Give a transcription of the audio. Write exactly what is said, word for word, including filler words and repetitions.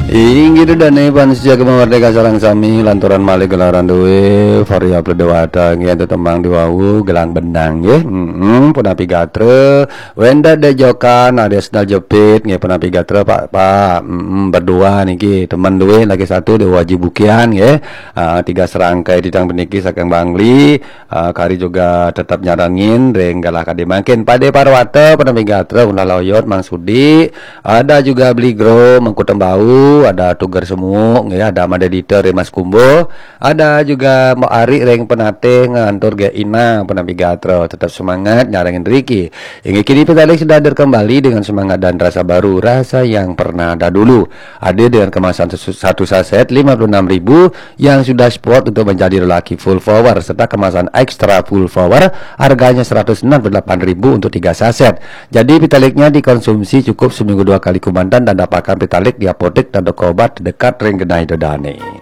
Inggih, ida dané pamiarsa Gema Merdeka sareng sami, lanturan malih gelaran dué Variable Dewata nggih, ento tembang diwawu Gelang Benang nggih. Heeh, punapi gatra, Wenda Dejokan, Ade Sendal Jepit nggih, punapi gatra Pak, Pak, heeh, berdua niki, temen dué lagi satu Dewa Haji Bukian nggih. Ah, tiga serangkai titang puniki saking Bangli. Ah, kari juga tetap nyarengin ring galah kadi mangkin. Pade Parwata, punapi gatra Unda Loyot, Mang Sudi, ada juga Bligro, Mengku Tembau, ada Tuger Semuuk, ya, ada Made Dita ring Mas Kumbo, ada juga Mbok Ari ring Penatih, ngantur Gék Ina, punapi gatra, tetap semangat nyarengin riki. Inggih, kini Petaling sudah hadir kembali dengan semangat dan rasa baru, rasa yang pernah ada dulu. Hadir dengan kemasan satu saset lima puluh enam ribu, yang sudah spot untuk menjadi lelaki full power serta kemasan extra full power, harganya seratus enam puluh delapan ribu untuk tiga saset. Jadi Petaliknya dikonsumsi cukup seminggu dua kali kumantan dan dapatkan Petalik di apotek dan toko obat terdekat ring genah ida dané.